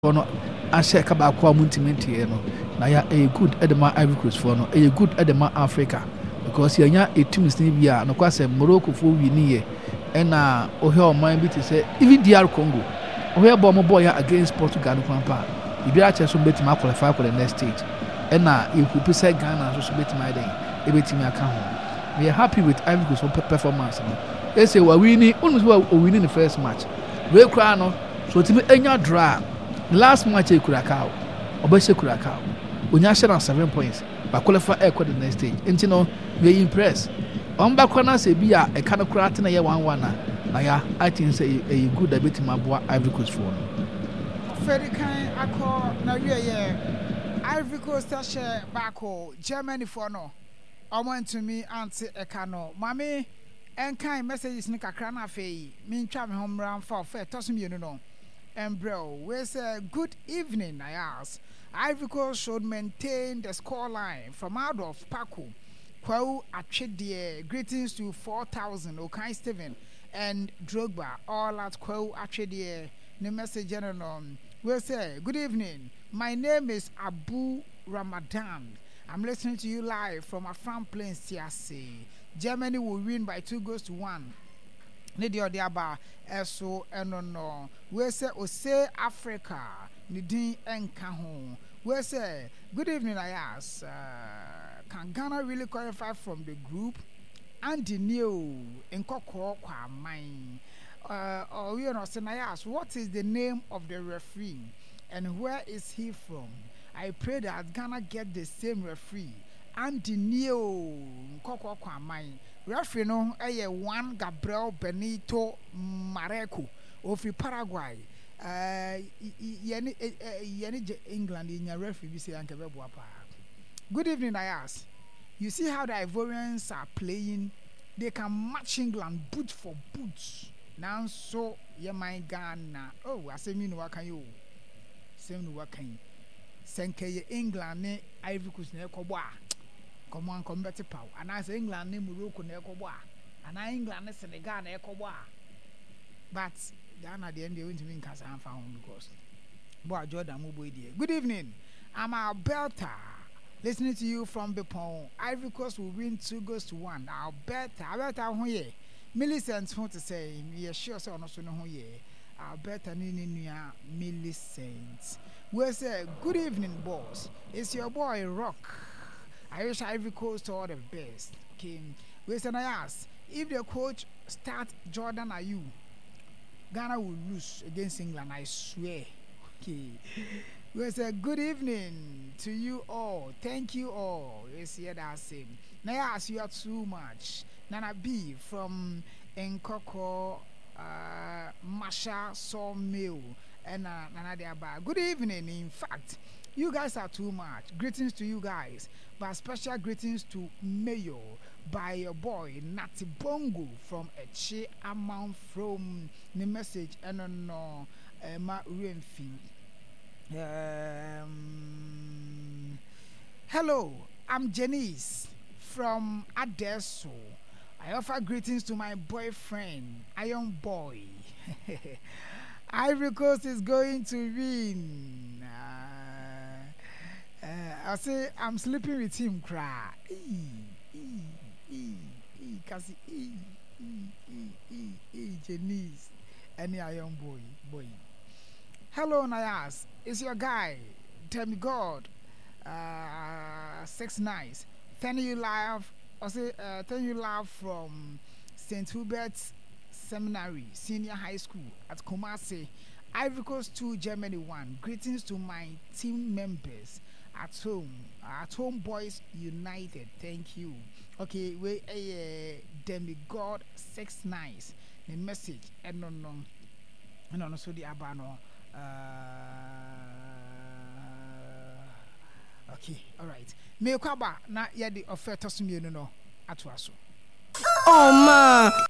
Foɔ no ahyɛ ka baako a wɔntumi nteɛ no na ya ɛyɛ good de ma Ivory Coast foɔ no, ɛyɛ good de ma Africa because yɛnya teams no bi a nokwasɛm Morocco foɔ wini yɛ ɛna wohwɛ ɔman bi te sɛ even DR Congo wohwɛ bɔ ɔmo bɔɔ yɛ against Portugal no koraa mpo a biribiara kyerɛ sɛ ɔmo bɛtumi aqualify for the next stage ɛna yɛhope sɛ Ghana nso so bɛtumi ayɛ dɛn ɛbɛtumi aka ho. Meyɛ happy with Ivory Coast foɔ performance no ɛsɛ wawini wonim sɛ ɔwini ne first match wei koraa no. So otumi nya draw a, ne last match yɛ Curacao, ɔbɛhyɛ Curacao. Onya hyɛ no a 7 points, ba qualify ɛkɔ the next stage. Nti no, we impress. Wɔn ba koraa na sɛ bi a ɛka no koraa tena yɛ 1-1 a, na ya I think sɛ ɛyɛ good a ebetumi aboa Ivory Coast foɔ no. Ɔfɛdi kan akɔ n'awieɛ. Ivory Coast ahyɛ baako, Germany foɔ no ɔmo antumi ante ɛka no. Maame nkan messages no kakra na afei mentwa me ho mmra mfa ɔfɛ ɛtɔ so mmienu no mbrɛ wo. Wei sɛ good evening Nayas. Ivory Coast should maintain the score line from Adolf Paku Kwawu Atwedeɛ. Greetings to 4000 Okan Stephen and Drogba all at Kwawu Atwedeɛ. Ne message no. Wei sɛ good evening, my name is Abu Ramadan. I'm listening to you live from Afram Plains, Tiase. Germany will win by 2 goals to 1. Ne deɛ ɔde aba ɛso ɛno no. Wei sɛ Ose Africa ne din ɛnka ho. Wei sɛ good evening Ayas. Can Ghana really qualify from the group? Andy Neo Nkɔkɔɔ Kwaman. Ɔwie no ɔsɛ Nayas, what is the name of the referee and where is he from? I pray that Ghana get the same referee. Andy Neo Nkɔkɔɔ Kwaman. Referee no yɛ Juan Gabriel Benito Mareco ofiri Paraguay. Yɛne England yɛnya referee bi sɛ anka ɛbɛboa paa. Good evening, Ayas. You see how the Ivorians are playing? They can match England boot for boot. Nanso yɛman Ghana. Oh, asɛm yi na waka yi o. Asɛm na waka yi. Sɛ nka yɛ England ne Ivory Coast na ɛkɔbɔ a, nkɔmɔ ankɔm bɛte paw. Anaasɛ England ne Morocco na ɛkɔbɔ a, anaa England ne Senegal na ɛkɔbɔ a. But Ghana deɛ deɛ wontumi nka saa mfa ho because boy Jordan mu boy deɛ. Good evening. I'm Alberta. Listening to you from Bepon. Ivory Coast will win 2 goals to 1. Alberta. Alberta ho yɛ. Millicent ho te sɛ yɛ sure sɛ ɔno so ne ho yɛ. Alberta ne ne nua Millicent. Wei sɛ good evening, boss. It's your boy Rock. I wish Ivory Coast all the best. Okay. Wei sɛ Nayas, if the coach start Jordan Ayew, Ghana will lose against England, I swear. Okay. Wei sɛ good evening to you all. Thank you all. Yes, yeah, that's it. Nayas, you are too much. Nana B from Nkoko Masha Sawmill. And Nana Diaba. Good evening. In fact, you guys are too much. Greetings to you guys. But special greetings to Mayor by your boy Nati Bongo from Echi Amount from the message and no ma Remfi. Hello, I'm Janice from Adesso. I offer greetings to my boyfriend, Iron Boy. Ivory Coast is going to win. I say I'm sleeping with him. Cry. E, e, e, e, Kasi, e, e, e, e, e, Janice. Any Iron Boy, boy. Hello, Nayas. It's your guy, Tell God. 69. Thank you live. I say, thank you live from St. Hubert's Seminary Senior High School at Kumasi. Ivory Coast 2, Germany 1. Greetings to my team members at home. At Home Boys United. Thank you. Okay, we Demigod 69. The message. No, so the abano. Okay, all right. Me kwaba na yɛde ɔfɛ tɔ so mmienu no atoa so. Oh ma.